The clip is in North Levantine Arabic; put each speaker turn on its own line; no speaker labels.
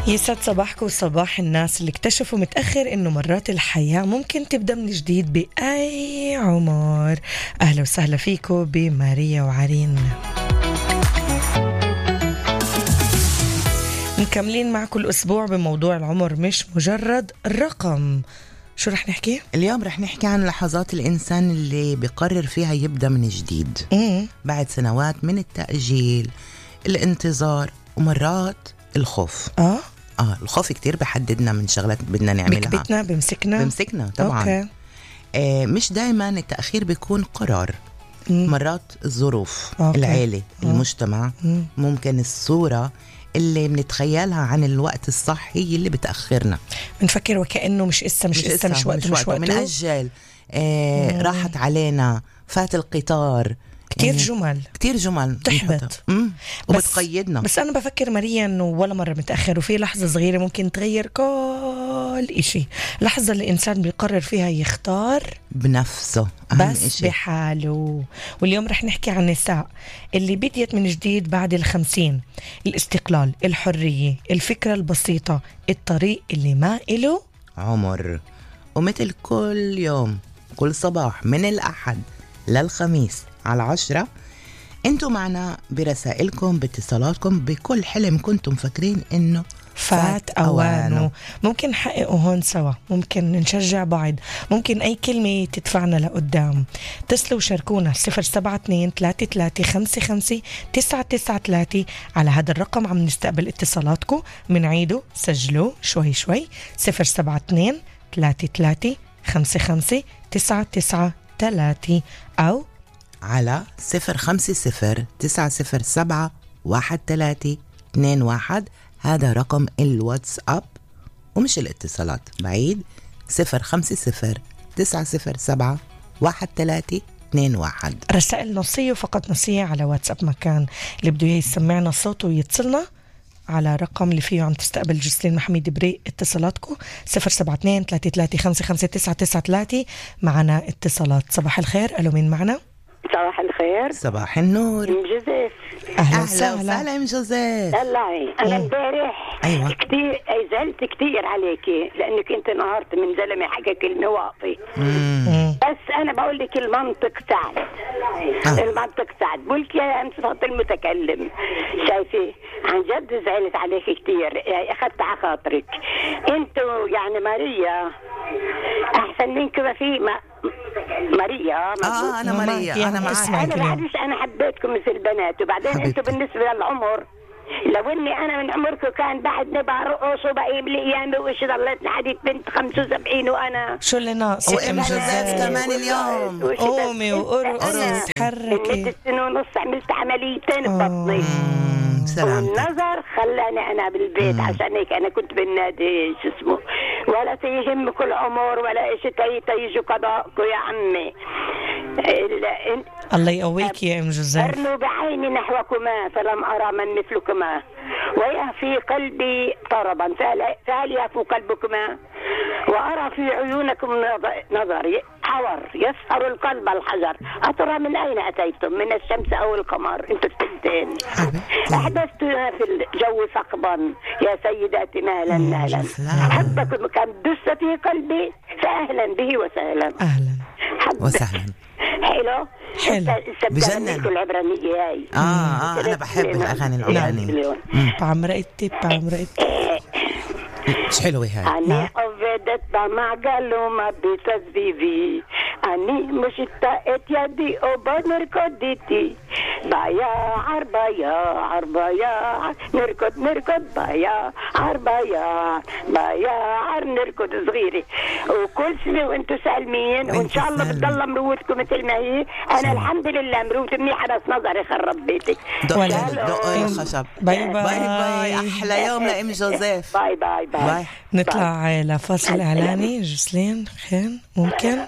يسعد صباحكم وصباح الناس اللي اكتشفوا متأخر إنه مرات الحياة ممكن تبدأ من جديد بأي عمر. أهلا وسهلا فيكم بماريا وعرين. مكملين معكم الأسبوع بموضوع العمر مش مجرد رقم. شو رح نحكي؟
اليوم رح نحكي عن لحظات الإنسان اللي بيقرر فيها يبدأ من جديد بعد سنوات من التأجيل، الانتظار، ومرات الخوف. الخوف كتير بحددنا من شغلات بدنا نعملها،
بكبتنا بمسكنا
طبعا. مش دايما التأخير بيكون قرار. مرات الظروف، العيلة، المجتمع، ممكن الصورة اللي بنتخيلها عن الوقت الصح هي اللي بتأخرنا.
بنفكر وكأنه مش وقته
بنأجل. راحت علينا، فات القطار. كتير جمل
تحبط
وبتقيدنا.
بس أنا بفكر ماريا إنه ولا مرة متأخر، وفي لحظة صغيرة ممكن تغير كل إشي. لحظة اللي الإنسان بيقرر فيها يختار
بنفسه
بس
إشي.
بحاله. واليوم رح نحكي عن النساء اللي بديت من جديد بعد 50. الاستقلال، الحرية، الفكرة البسيطة، الطريق اللي ما إله
عمر. ومثل كل يوم، كل صباح من الأحد للخميس على 10 انتوا معنا برسائلكم، باتصالاتكم، بكل حلم كنتم فاكرين انه
فات أوانه. ممكن نحققه هون سوا، ممكن نشجع بعض، ممكن أي كلمة تدفعنا لقدام. اتصلوا وشاركونا 072-3355-993. على هذا الرقم عم نستقبل اتصالاتكم، منعيده، سجلوا شوي 072-3355-993 أو
على 050-907-1321. هذا رقم الواتساب ومش الاتصالات، بعيد 050-907-1321.
رسائل نصية وفقط نصية على واتساب مكان. اللي بده يسمعنا صوته ويتصلنا على رقم اللي فيه عم تستقبل جسلين محميد بري اتصالاتكم 072-3355-993. معنا اتصالات. صباح الخير. ألو، مين معنا؟
صباح الخير.
صباح النور.
ام جوزيف.
أهلا وسهلا
ام جوزيف.
طلعي انا امبارح كتير زعلت كتير عليكي لانك انت نهارت من زلمه حكى كلمه واطي. بس انا بقول لك المنطق سعد. المنطق سعد. بقولك يا انت المتكلم. شايفه عن جد زعلت عليك كتير، اخذت على خاطرك. انتوا يعني ماريا احسن منك ما في ماريا.
انا ماريا، انا معك.
انا حبيتكم مثل البنات. وبعدين انتوا بالنسبه للعمر، لو اني انا من عمركم كان بعد نبقى رقص وبقيم لي ايامي وش ضليت لحديت بنت 75 وانا
شو اللي ناقص؟
وام جوزيف كمان اليوم
قومي وارقصي تحركي.
6 سنين ونص عملت عمليتين ببطني. والنظر خلاني انا بالبيت. عشان هيك انا كنت بالنادي شو اسمه، ولا تيهم كل عمر ولا إشي تيجوا قضاءكم يا عمي.
الله يقويك يا ام جوزيف.
أرنوا بعيني نحوكما فلم أرى من مثلكما، ويهفي قلبي طربا فهل يهفو قلبكما، وأرى في عيونكم نظري حور يسهر القلب الحجر. أترى من أين أتيتم، من الشمس أو القمر؟ أنتم الثنتين. أحدثتنا في الجو ثقبا يا سيداتي مهلا. حبكم كم دس في قلبي، فأهلا به وسهلا.
أهلا
وسهلا.
حلو
بجنن
العبرانية هاي.
أنا بحب الأغاني العبرانية.
بعمرقتي
مش حلوة هاي.
أنا عبدت بمعقل وما بتسبيبي، أني مشتاقت يدي وبنر كدتي بايا نركض بايا نركض صغيري وكل سنة وانتو سالمين، وان شاء الله بتضل مروتكم مثل ما هي. انا الحمد لله مروت منيحة بس نظري خرب بيتك.
دقي الخشب. باي. احلى يوم لام جوزيف.
باي.
نطلع لفاصل اعلاني. جسلين خير ممكن